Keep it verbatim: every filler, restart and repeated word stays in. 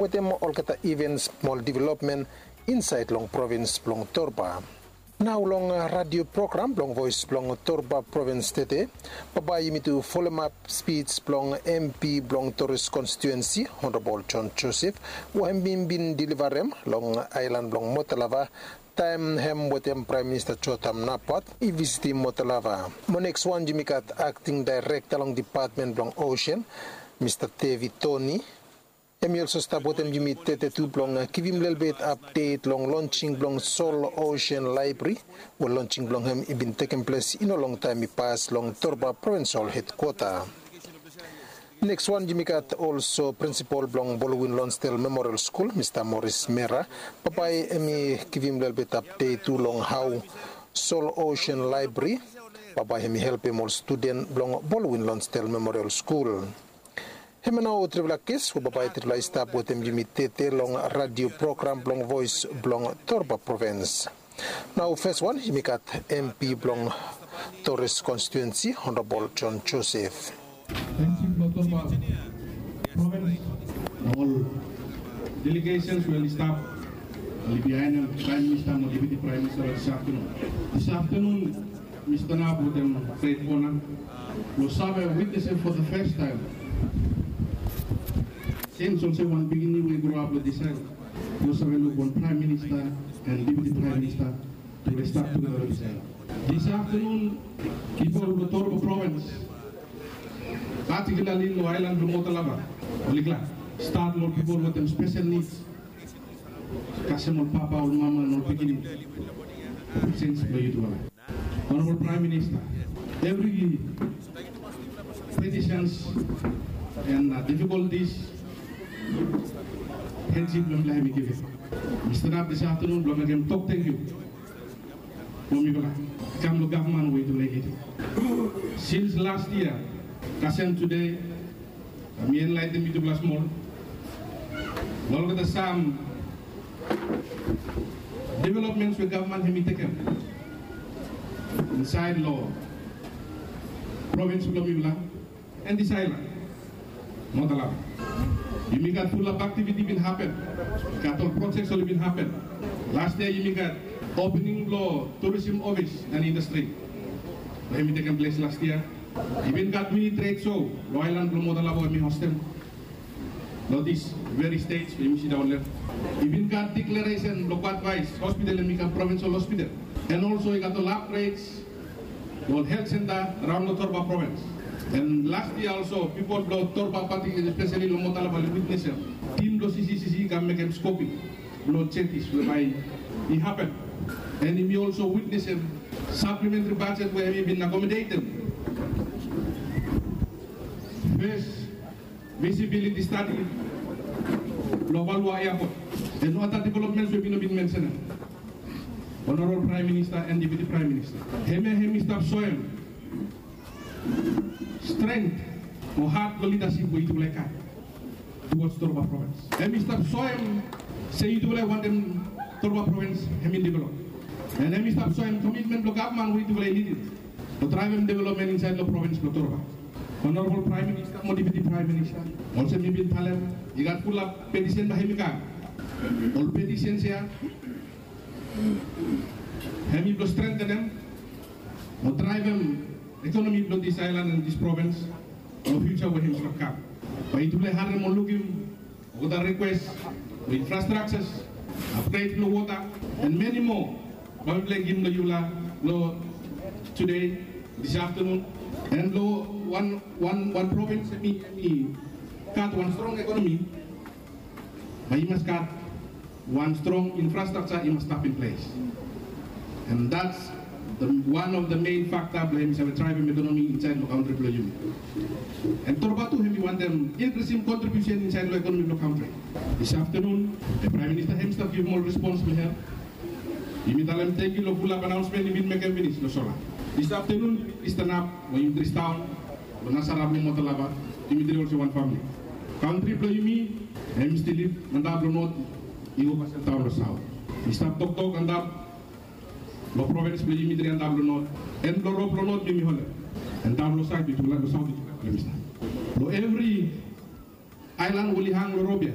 wetem olgeta ivens mo ol developmen insaed long provins blong Torba. Nao long radio program blong Voes blong Torba Provins tede, bambae yumi tu folomap spij blong MP blong Toris Konstituensi, Honorabol John Joseph, we hem i bin delivarem long aelan blong Motalava taem hem wetem Praem Minista Jotam Napat i visitim Motalava. Mo nekswan yumi gat akting daerekta long depatmen blong osen, Mista Devid Toni. Hem i olso stap wetem yumi tede tu blong givim lelebet apdet long lonsing blong Sol Osen Laebri, we lonsing blong hem i bin tekem ples i no longtaem i pas long Torba Provins Ol Hedkwota. Nekswan yumi gat olso prinsipol blong Bolwin Lonsdel Memorial Skul, Mista Moris Mera, bambae hem i givim lelebet apdet tu long hao Sol Osen Laebri bambae hem i helpem ol studen blong Bolwin Lonsdel Memorial Skul. Hemia nao trifala ges we bambae trifala i stap wetem yumi tede long radio program blong Voes blong Torba Provins. Nao feswan yumi gat MP blong Toris Konstituensi, Honorabol John Joseph. Thank you, Torba Provins. Ol delegations we oli stap, oli bihaen hem, Praem Minista mo Deputi Praem Minista, long disaftanun. Disaftanun, mi stanap wetem gret ona blong save witnesem for the first time. Since olsem wan pikinini we i groap long disaed, mi no save luk wan Praem Minista and Deputi Praem Minista tu oli stap tugeta long disaed. Disaftanun, pipol blong Torba Provins, patikilarli long aelan blong Motalava, oli glad. Stat long pipol wetem spesel nids, kasem ol papa, ol mama, and ol pikinini. Sins blong yutufala. Honorabol Praem Minista, evri petitions and, uh, difikoltis, hendshik blong mifala hem i givim. Mi stanap disaftanun blong mekem tok tangkiu blong mifala i kam long gavman we yutufala i lidim. Sins las yia kasem tude, mi enlaetenem yutufala smol long olgeta sam developmens we gavman hem i tekem insaed long provins blong mifala and disaed long Motalava. Yumi gat fulap aktiviti bin hapen. Gat ol projek oli bin hapen. Las yia yumi gat opening blong tourism ofis and indastri we hem i tekem ples las yia. I bin gat mini tred sho long aelan blong Motalava we mi hostem long this very stage we yumi sidaon long hem. I bin gat deklaresen blong Bad Vice Hospital hem i kam provinsol hospital. And olso i gat ol upgrades long ol helt senta raon long Torba Provins. And las yia olso pipol blong Torba pati, espeseli long Motalava, oli witnesem tim blong CCCC i kam mekem skoping blong jetis we bae i hapen. And yumi olso witnesem saplementri bajet we hem i bin akomodetem fes visibiliti stadi blong Valuvalu Eapot. And other developments we mi no bin mensenem, Honorabol Praem Minista and Deputi Praem Minista. Hemia hem i stap soem strength o hat blong lidasip we yutufala i gat towards Torba Provins. Hem i stap soem se yutufala i wantem Torba Provins hem i develop. And hem i stap soem komitmen blong gavman we yutufala i lidim blong draevem developmen insaed long provins blong Torba. Honorabol Praem Minista mo Deputi Praem Minista, olsem mi bin talem, i gat fulap petisen bae hem i kam. Ol petisen ya hem i blong strengtenem mo draevem ekonomi blong this aelan and this provins long fiuja we hem i stap kam. Bae yutufala i harem o lukim olgeta rikwes blong infrastruktures, apgred blong wota, and many more bae mifala i givim long yufala long tude, this afternoon. And long wan, wan, wan provins hem i, hem i gat wan strong ekonomi, bae i mas gat wan strong infrastructure i mas stap in place. And that's the, one of the main factor blong hem i save draevem ekonomi insaed long kantri blong yumi. And Torba tu hem i wantem inkrisim kontribiusen insaed long ekonomi blong kantri. This afternoon, the Praem Minista hem i stap givim ol respons blong hem. Yumi talem tangkiu long fulap anaonsmen i bin mekem finis long sola. This afternoon, yumi stanap long yumi dristaon long Nasara blong Motalava, yumi dri olsem wan famili. Kantri blong yumi hem i stil lid antap long not, i go kasem daon long saot. Mi stap toktok antap long provins blong yumi dri antap long not, and long rop long not yumi holem, and daon long saot yutufala, long saot yutufala holem i stap. Long evri aelan we oli hang long rop ya,